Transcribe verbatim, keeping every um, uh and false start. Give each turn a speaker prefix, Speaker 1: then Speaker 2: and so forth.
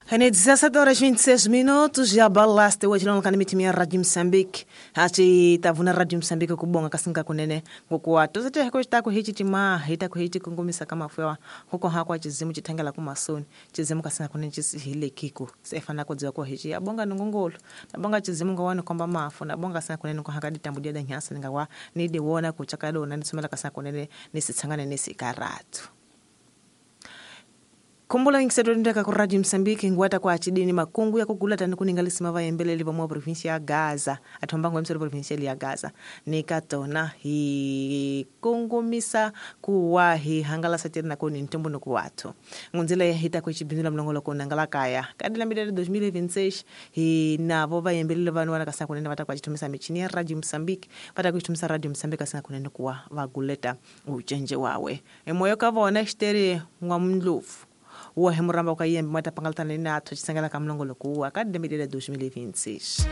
Speaker 1: Ene dezassete horas vinte e seis minutos já balaste hoje não kana mitimia Rádio Moçambique. Achi tavuna Rádio Moçambique kubonga kasinga kunene ngokuwa tozete ko chitako hichi tima hita ku hichi kungumisa kama fwewa huko hakwa chizimu chitangala kumasoni chizimu kasinga kunene chisihile kiko sefana kodziwa ko hichi abonga nongongolo nabonga chizimu ngawani komba mafu nabonga kasinga kunene ko hakadi tambudia da nyasa ngawa nide wona kuchakado na nisomela kasinga kunene nisitsangane nisikaratu. Kumbula ngisetondeka ku Radio Msambiki ngwata kwa achidini makungu ya kugula tani kuningalisima vayembeleli vamwa provincia ya Gaza athombango emselo provincia ya Gaza nikatona hi kungumisa kuwa hi hangalasa tiri nakoni ntombo nokuwathu ngunzila ya hita kuchibindula mlongolo kunangala kaya kadila midele dois mil e vinte e seis hi navo vayembeleli vanu wana kasina kunene vata kwachitumisa michini ya Radio Msambiki vata kuchitumisa Radio Msambiki kasina kunene kuwa vaguleta uchenje wawe emoyo kavona xiteri ngwamndlovu wa hemuramba ukayembe mwata pangaltana ni natho chisangala kamlongolo kuwa kademidele dois mil e vinte e seis.